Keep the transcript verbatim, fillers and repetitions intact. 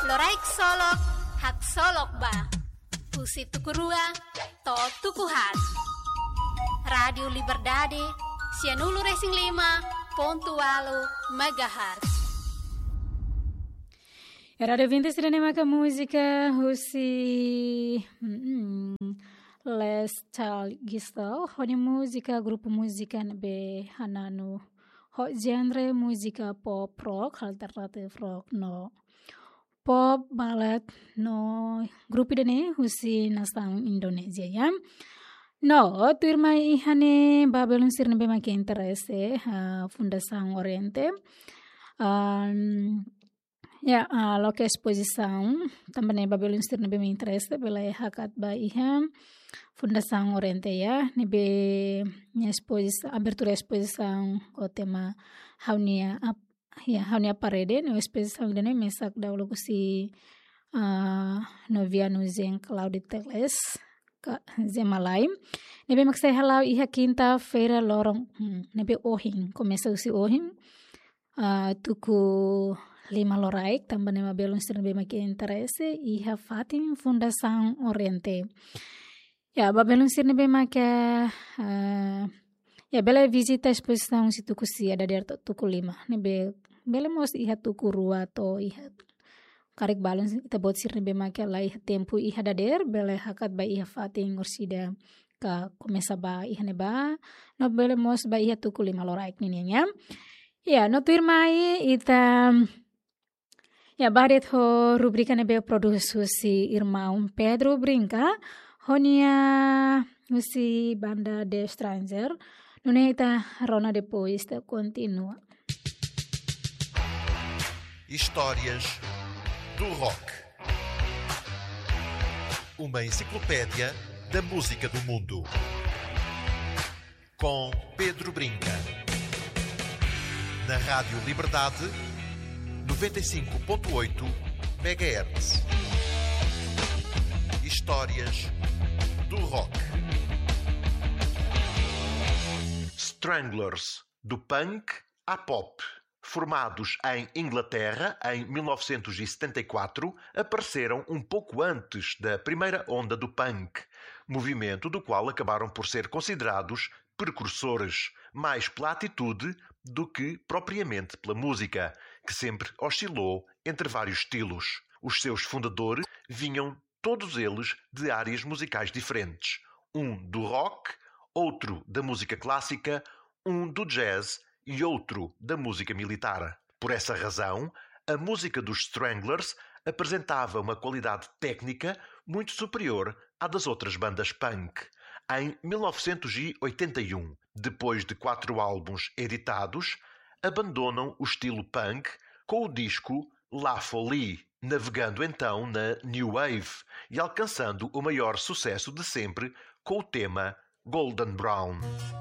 Loraik Solok, haksolok ba. Husi tuku rua to'o tuku haat. Rádiu Liberdade, sianulu-resin-lima pontu ualu megahertz. Ya, Rádiu Vintes sira-ne'e maka múzika husi, mm, Les Child Guitar, ho nia múzika, grupu múzika ne'ebé hananu ho genre múzika pop rock, alternative rock no pop ballad no grupu ida-ne'e husi nasaun Indonézia, ya. No, tuirmai iha ne'e ba belun sira ne'ebé maka interese, ah, Fundasaun Oriente. Am, ya, ah, loke espozisaun, tanba ne'e ba belun sira ne'ebé maka interese, bele hakat ba iha Fundasaun Oriente, ya, ne'ebé nia espozis-, abertura espozisaun ho tema Ha'u-nia ap-, ya, Ha'u-nia parede, no espozisaun ida-ne'e mesak dauluk husi, ah, Noviano Jean Claude Teles, ka Zé Malai. Ne'ebé mak sei hala'o iha kinta-feira loron, hmm, ne'ebé ohin, komesa husi ohin, ah, tuku lima loraik, tanba ne'e ba belun sira ne'ebé maka interese, iha fatin Fundasaun Oriente. Ya, ba belun sira ne'ebé maka, ah, ya, bele vizita espozisaun husi tuku sia dadeer to'o tuku lima. Ne'ebé bele mós iha tuku rua to'o iha karik balun ita-boot sira ne'ebé maka la iha tempu iha dadeer, bele hakat ba iha fatin orsida ka komesa ba iha ne'ebá, no bele mós ba iha tuku lima loraik ninian, ya. Ya, no tuirmai ita, ya, bá de'it ho rubrika ne'ebé prodús husi irmaun Pedro Brinca, ho nia husi banda The Stranger, nune'e ita rona depois ita kontinua. Histórias do Rock. Uma enciclopédia da música do mundo. Com Pedro Brinca. Na Rádio Liberdade, noventa e cinco ponto oito megahertz. Histórias do Rock. Stranglers, do punk à pop. Formados em Inglaterra em mil novecentos e setenta e quatro, apareceram um pouco antes da primeira onda do punk, movimento do qual acabaram por ser considerados precursores, mais pela atitude do que propriamente pela música, que sempre oscilou entre vários estilos. Os seus fundadores vinham todos eles de áreas musicais diferentes, um do rock, outro da música clássica, um do jazz e outro da música militar. Por essa razão, a música dos Stranglers apresentava uma qualidade técnica muito superior à das outras bandas punk. Em mil novecentos e oitenta e um, depois de quatro álbuns editados, abandonam o estilo punk com o disco La Folie, navegando então na New Wave e alcançando o maior sucesso de sempre com o tema Golden Brown.